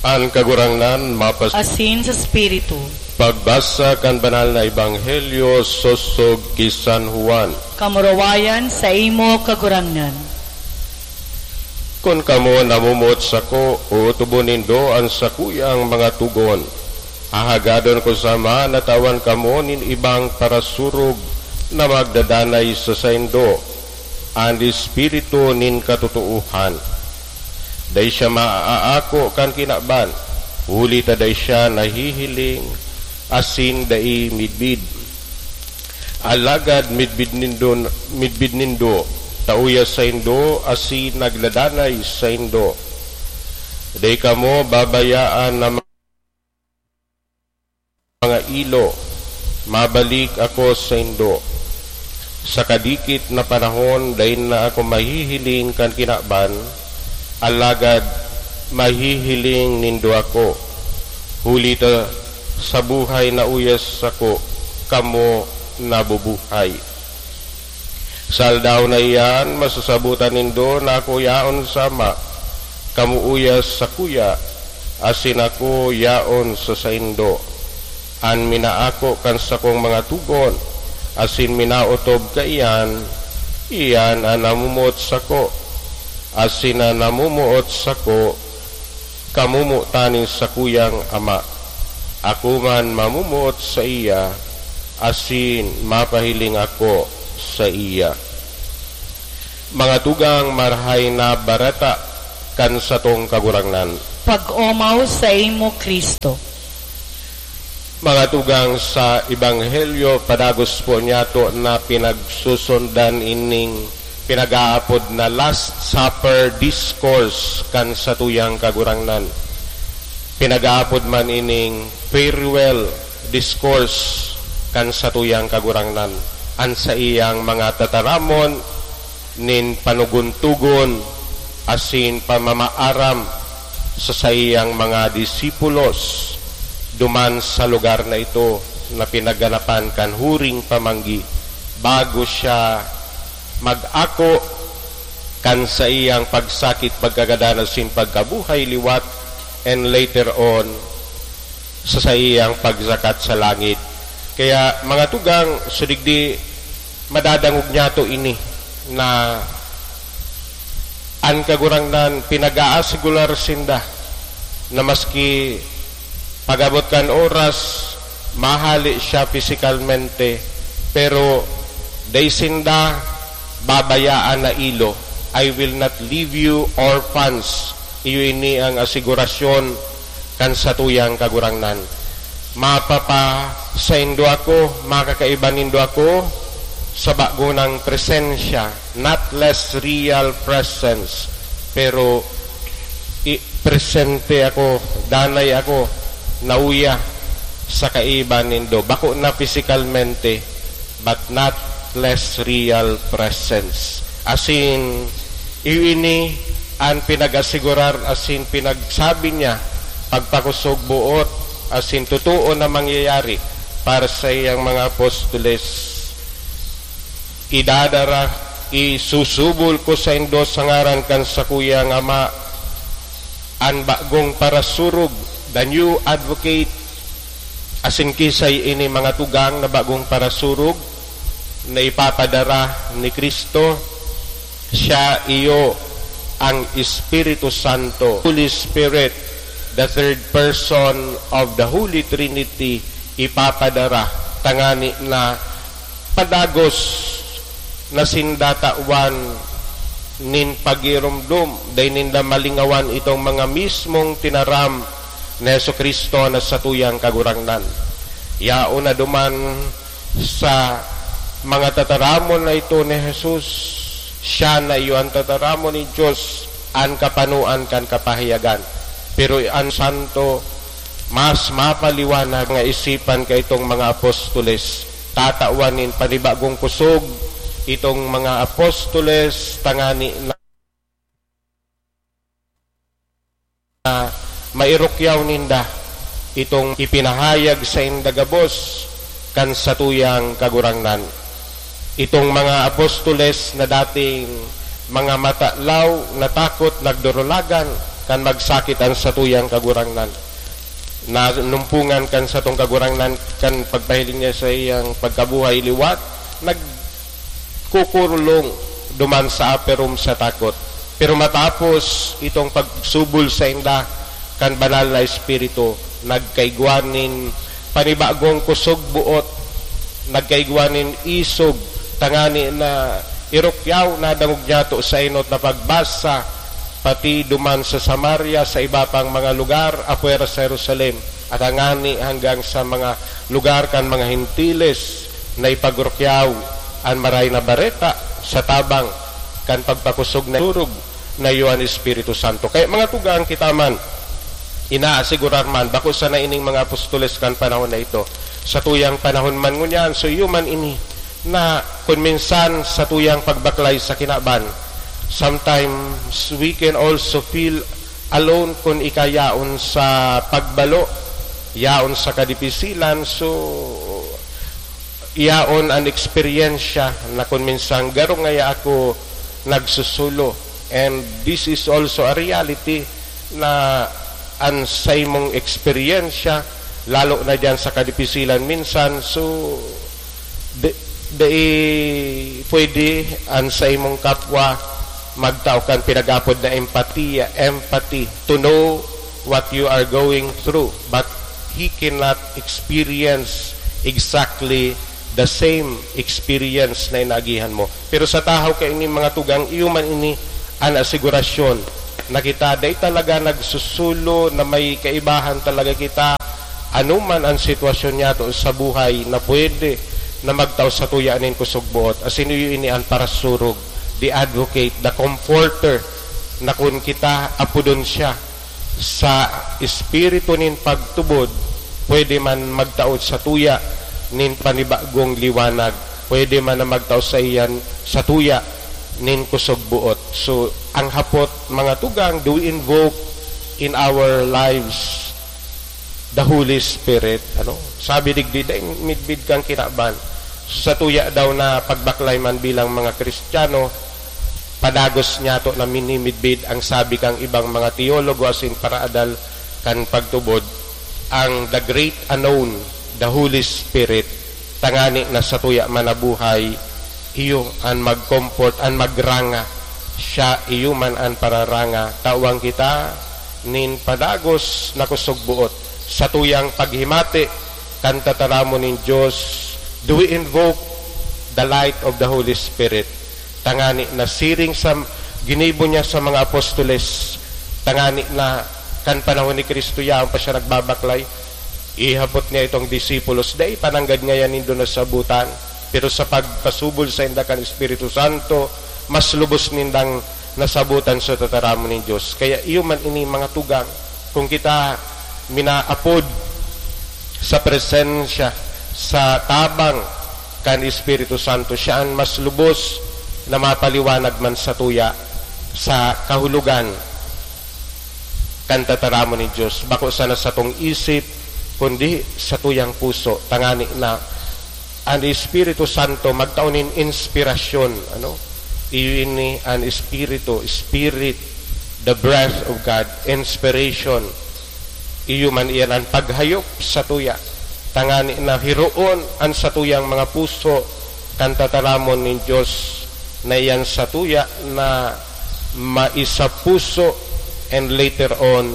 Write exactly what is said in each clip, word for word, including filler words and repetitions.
An Kagurangnan mapas- Asin sa Espiritu. Pagbasa kan Banal na Ebanghelyo sosog ki San Juan. Kamurawayan saimo, Kagurangnan. Kun kamo namomoot sako, ootobon nindo an sakuyang mga togon. Hahagadon ko sa Ama na tawan kamo nin ibang parasurog na magdadanay sa saindo, an Espiritu nin katotoohan. Dai siya maaako kan kinaban, huli ta dai siya nahihiling asin dai midbid. Alagad midbid nindo, midbid nindo, ta uya saindo asin nagdadanay saindo. Dai kamo babayaan na mga ilo, mabalik ako saindo. Sa kadikit na panahon, dai na ako mahihiling kan kinaban, alagad mahihiling nindo ako, huli ta sa buhay na uya sako, kamo nabubuhay. Sa aldaw na iyan, masasabotan nindo na ako yaon sa Ama, kamo uya sakuya, asin ako yaon sa saindo. An minaako kan sakong mga togon, asin minaotob kaiyan, iyan an namomoot sako, asin an namomoot sako, kamomotan nin sakuyang Ama. Ako man mamomoot saiya, asin mapahiling ako saiya. Mga tugang, Marahay na Bareta kan satong Kagurangnan. Pag-omaw saimo, Cristo. Mga tugang, sa Ebanghelyo, padagos po niyato na pinagsusundan ining pinag-aapod na Last Supper Discourse kan satuyang Kagurangnan. Pinag-aapod man ining Farewell Discourse kan satuyang Kagurangnan. An saiyang mga tataramon nin panugon-tugon asin pamamaaram sa saiyang mga disipulos duman sa lugar na ito na pinaganapan kan huring pamanggi, bago siya mag-ako kan saiyang pagsakit, pagkagadan asin pagkabuhay liwat, and later on, sa saiyang pagsakat sa langit. Kaya, mga tugang, so digdi madadangog niyato ini, na an Kagurangnan pinag-aasigurar sinda na maski pag-abot kan oras, mahale siya fisikalmente, pero dai sinda babayaan na ilo. "I will not leave you orphans." Iyo ini ang asigurasyon kan satuyang Kagurangnan. Mapapasaindo ako, makakaiba nindo ako sa bago nang presensya, not less real presence, pero i-, presente ako, danay ako, nauya sa kaiba nindo. Bako na fisikalmente, but not less real presence. Asin, iyo ini an pinag-asigurar asin pinagsabi niya, pagpakusog boot asin totoo na mangyayari para sa iyang mga apostoles. Idadara, isusubol ko saindo sa ngaran kan sakuyang Ama, an bagong parasurog, the new advocate, asin kisay ini mga tugang na bagong parasurog na ipapadara ni Cristo, siya iyo ang Espiritu Santo, Holy Spirit, the third person of the Holy Trinity, ipapadara tangani na padagos na sinda tawan nin pagiromdom, dai ninda malingawan itong mga mismong tinaram ni Jesu-Cristo na satuyang Kagurangnan. Yaon na duman sa mga tataramon na ito ni Jesus, siya na iyo an tataramon nin Dios, an kapanoan kan kapahayagan. Pero an santo, mas mapaliwanag nga isipan kaitong mga apostoles. Tatawan nin panibagong kusog itong mga apostoles tangani na mairukyaw ninda itong ipinahayag sainda gabos kan satuyang Kagurangnan. Itong mga apostoles na dating mga matalaw, natakot, nagdurulagan, kan magsakit an satuyang Kagurangnan. Nanumpongan kan satong Kagurangnan kan pagpahiling niya sa iyang pagkabuhay liwat, nagkukurulong duman sa upper room sa takot. Pero matapos itong pagsubol sainda kan Banal na Espiritu, nagkaigwa nin panibagong kusog buot, nagkaigwa nin isog, tangani na irukyaw na dangog niyato sa enot na pagbasa, pati duman sa Samaria, sa iba pang mga lugar apwera sa Jerusalem, at tangani hanggang sa mga lugar kan mga Hentiles na ipagrukyaw an Maray na Bareta sa tabang kan pagpakusog na turog na iyo an Espiritu Santo. Kaya mga tugang, kita man, inaasigurar man, bako sana ining mga apostoles kan panahon na ito. Sa tuyang panahon man ngunyan, so iyo man ini na kun minsan sa tuyang pagbaklay sa kinaban, sometimes we can also feel alone kun ika yaon sa pagbalo, yaon sa kadipisilan. So, yaon an eksperyensya na kun minsan garo ngaya ako nagsusulo. And this is also a reality na an saimong eksperyensya, lalo na diyan sa kadipisilan minsan, so, di, di pwede an saimong kapwa magtao kan pinag-apod na empatiya, empathy, to know what you are going through, but he cannot experience exactly the same experience na inaagihan mo. Pero sa tahaw kaini, mga tugang, iyo man ini an asigurasyon na kita dai talaga nagsusulo, na may kaibahan talaga kita. Ano man an sitwasyon niyato sa buhay, na pwede na magtao sa tuya nin kusog buot. Asin iyo ini an parasurog, the advocate, the comforter, na kun kita apodon siya sa espiritu nin pagtubod, pwede man magtao sa tuya nin panibagong liwanag, pwede man na magtao sa iyan, sa tuya nin kusog buot. So, ang hapot, mga tugang, do we invoke in our lives the Holy Spirit? Ano? Sabi digdi, dai midbid kan kinaban. So, sa tuya daw na pagbaklay man bilang mga Kristiyano, padagos niyato na minimidbid ang sabi kang ibang mga teologo asin paraadal kan pagtubod, ang the great unknown, the Holy Spirit, tangani na sa tuya man na buhay, iyo an mag-comfort, an magranga. Siya iyo man an pararanga. Tawan kita nin padagos na kusog buot sa tuyang paghimati kan tataramon nin Dios. Do we invoke the light of the Holy Spirit? Tangani na siring sa ginibo niya sa mga apostoles, tangani na kan panahon ni Cristo yaon pa siya nagbabaklay, ihapot niya itong disipulos, dai pa nanggad ngayan nindo nasabutan, pero sa pagpasubol sainda kan Espiritu Santo, mas lubos nindang nasabutan sa tataramon nin Dios. Kaya iyo man ini, mga tugang, kung kita minaapod sa presensya, sa tabang kan Espiritu Santo, siya an mas lubos na mapaliwanag man satuya sa kahulogan kan tataramon nin Dios, bako sana satong isip, kundi satuyang puso, tangani na an Espiritu Santo magtao nin inspirasyon, ano? Iyo ini an Espiritu, Spirit, the breath of God, inspiration. Iyo man iyan an paghayop satuya, tangani na hiroon an satuyang mga puso kan tataramon nin Dios, na iyan satuya na maisapuso, and later on,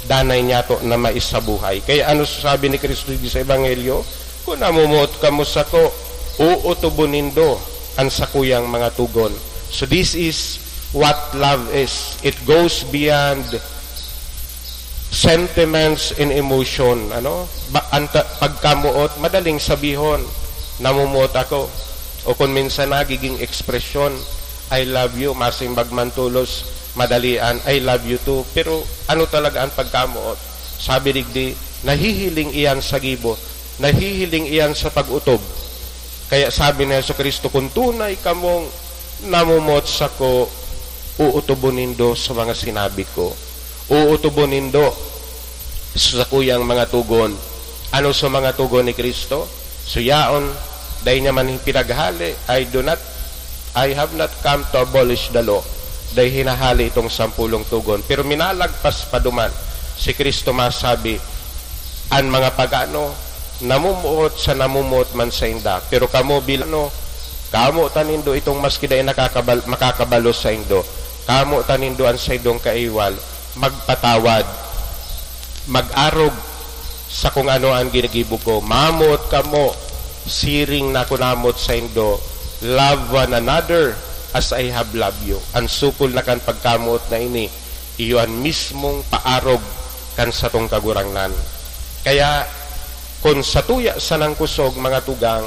danay niyato na maisabuhay. Kaya ano sabi ni Cristo di sa Ebanghelyo? "Kun namomoot kamo sako, uutubon nindo an sakuyang mga tugon." So this is what love is. It goes beyond sentiments and emotion, ano? Ba, anta, pagkamoot, madaling sabihon, "Namomoot ako." O kung minsan nagiging ekspresyon, "I love you," masimbag man tolos, madalian, "I love you too." Pero ano talaga ang pagkamoot? Sabi digdi, nahihiling iyan sa gibo, nahihiling iyan sa pag-utob. Kaya sabi ni Jesu-Cristo, "Kung tunay kamong namomoot sako, uutubon nindo sa mga sinabi ko." Uutubon nindo sa sakuyang mga tugon. Ano sa mga tugon ni Cristo? So yaon, dai niya man pinaghale, "I do not, I have not come to abolish the law, Dai hinahale itong sampolong togon, pero minalagpas pa duman. Si Cristo masabi, "An mga pagano namumuot sa namumuot man sainda, pero kamo bilano, kamo ta nindo itong maski dai nakakabal-, makakabalos saindo, kamo ta nindo an saindong kaiwal, magpatawad, mag-arog sa kung ano an ginigibo ko. Mamoot kamo, siring na kunamot saindo, love one another as I have loved you." An sukol na kan pagkamoot na ini, iyo an mismong paarog kan satong Kagurangnan. Kaya, kun satuya sanang kusog, mga tugang,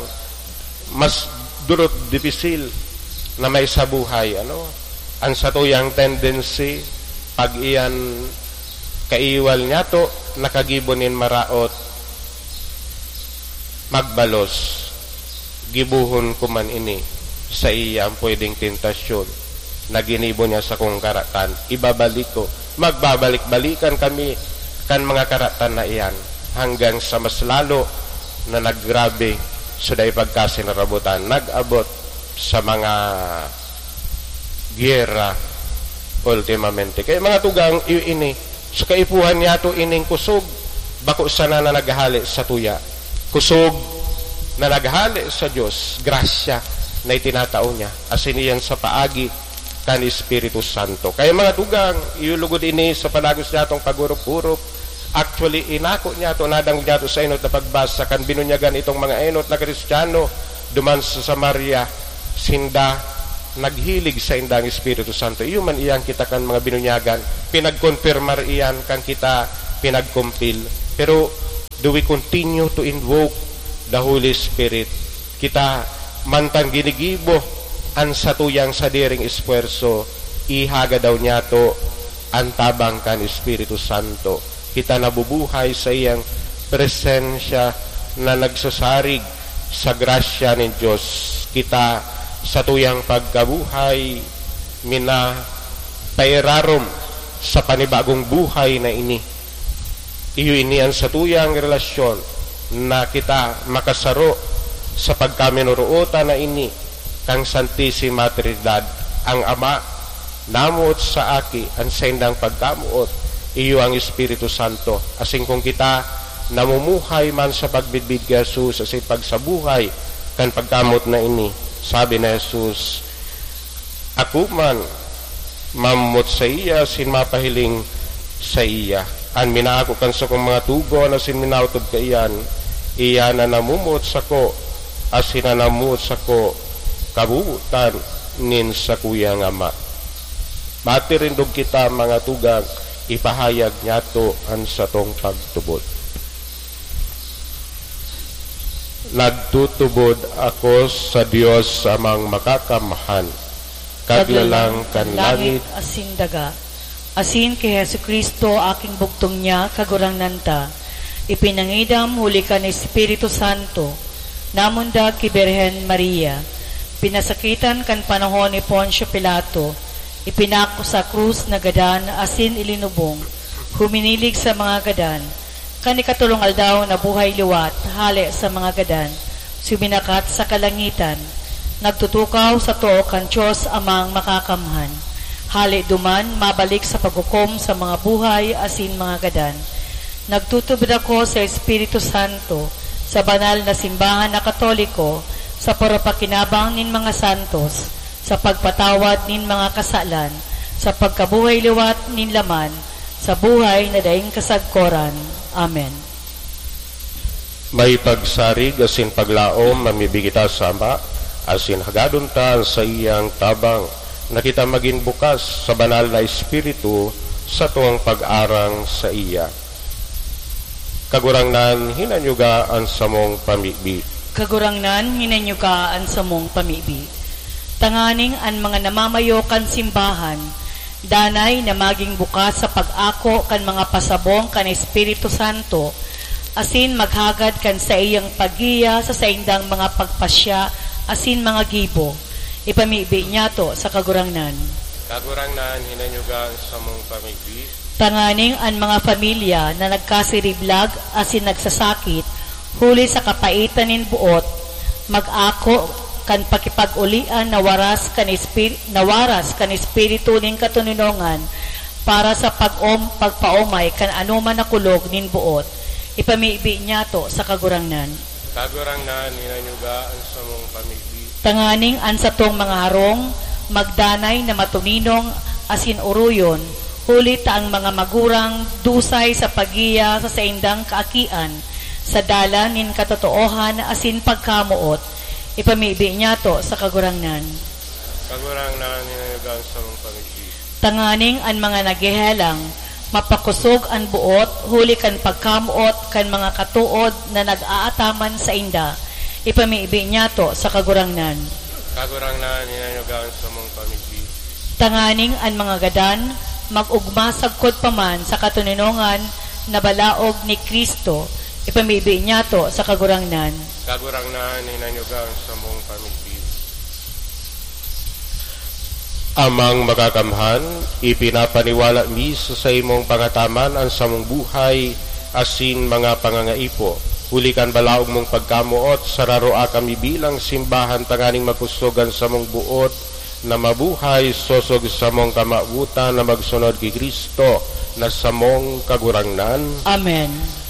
mas durot dipisil na may sa buhay, ano? Ang satuyang tendency, pag iyan kaiwal niyato, nakagibo nin maraot, magbalos, gibohon ko man ini, saiya ang pwedeng tentasyon na ginibo niya sakong karatan. Ibabalik ko, magbabalik-balikan kami kan mga karatan na iyan, hanggang sa mas lalo na naggrabe so dai pagkasinarabotan, nag-abot sa mga giyera ultimamente. Kaya, mga tugang, iyo ini, sa kaipuhan niyato ining kusog, bako sana na naghale sa tuya. Kusog na naghale sa Dios, grasya na itinatao niya, asin iyan sa paagi kan Espiritu Santo. Kaya, mga tugang, iyo lugod ini sa palagos niyatong pag-urop-urop. Actually, inako niyato, nadangog niyato sa enot na pagbasa kan binunyagan itong mga enot na Kristiyano duman sa Samaria. Sinda naghilig sainda ang Espiritu Santo. Iyo man iyan kita kan mga binunyagan, pinagkonfirmar iyan kan kita pinagkumpil. Pero do we continue to invoke the Holy Spirit? Kita, mantang ginigibo an satuyang sadiring esfuerso, ihaga daw niyato an tabang kan Espiritu Santo. Kita nabubuhay sa iyang presensya na nagsasarig sa grasya nin Dios. Kita, satuyang pagkabuhay, minapairarom sa panibagong buhay na ini. Iyo ini an satuyang relasyon na kita makasaro sa pagkaminorootan na ini kan Santisima Trinidad, ang Ama, namoot sa Aki, an saindang pagkamoot, iyo ang Espiritu Santo. Asin kun kita namumuhay man sa pagmidbid ki Jesus asin pagsabuhay kan pagkamoot na ini, sabi ni Jesus, "Ako man mamot saiya asin mapahiling saiya. An minaako kan sakong mga tugon asin minaotob kaiyan, iyan an namomoot sako, asin an namomoot sako, kabobotan nin sakuyang Ama." Matirindog kita, mga tugang, ipahayag niyato an satong pagtubod. Nagtutubod ako sa Dios Amang Makakamhan, Kaglalang kan langit asin daga, asin ki Jesu-Cristo, aking bugtong niya, Kagurangnan ta, ipinangidam huli kan Espiritu Santo, namundag ki Birhen Maria, pinasakitan kan panahon ni Poncio Pilato, ipinako sa krus, nagadan asin ilinubong, huminilig sa mga gadan, kan ikatolong aldaw nabuhay liwat hale sa mga gadan, suminakat sa kalangitan, nagtutukaw sa too kan Dios Amang Makakamhan. Hale duman, mabalik sa paghukom sa mga buhay asin mga gadan. Nagtutubod ako sa Espiritu Santo, sa banal na simbahan na Katoliko, sa parapakinabang nin mga santos, sa pagpatawad nin mga kasalan, sa pagkabuhay liwat nin laman, sa buhay na daing kasagkoran. Amen. May pagsarig asin paglaom mamibi kita sa Ama, asin hagadon ta an saiyang tabang, na kita magin bukas sa Banal na Espiritu satong pag-arang saiya. Kagurangnan, hinanyuga an samong pamibi. Kagurangnan, hinanyuga an samong pamibi. Tanganing an mga namamayo kan simbahan, danay na magin bukas sa pag-ako kan mga pasabong kan Espiritu Santo, asin maghagad kan saiyang paggiya sa saindang mga pagpasya asin mga gibo. Ipamibi niyato sa Kagurangnan. Kagurangnan, hinanyuga an samong pamibi. Tanganing an mga pamilya na nagkasiriblag asin nagsasakit huli sa kapaitan nin boot, mag-ako kan pakipag-olian na waras kan espir-, na waras kan espiritu nin katoninongan para sa pag-om-, pagpaomay kan anoman na kulog nin boot. Ipamibi niyato sa Kagurangnan. Kagurangnan, hinanyuga an samong pamigbi. Tanganing an satong mga harong magdanay na matoninong asin oroyon, huli ta ang mga magurang dusay sa paggiya sa saindang kaakian, sa dalan nin katotoohan asin pagkamoot. Ipamibi niyato sa Kagurangnan. Kagurangnan, hinanyuga an samong pamigbi. Tanganing an mga naghehelang, mapakosog an boot huli kan pagkamoot kan mga katood na nag-aataman sainda. Ipamibi niyato sa Kagurangnan. Kagurangnan, hinanyuga an samong pamigbi. Tanganing an mga gadan, mag-ogma sagkod pa man sa katoninongan na balaog ni Cristo. Ipamibi niyato sa Kagurangnan. Kagurangnan, hinanyuga an samong pamigbi. Amang Makakamhan, ipinapaniwala mi sa saimong pangataman an samong buhay asin mga pangangaipo. Huli kan balaog mong pagkamoot, sararoa kami bilang simbahan tanganing makosog an samong boot na mabuhay sosog samong kamawotan na magsunod ki Cristo na samong Kagurangnan. Amen.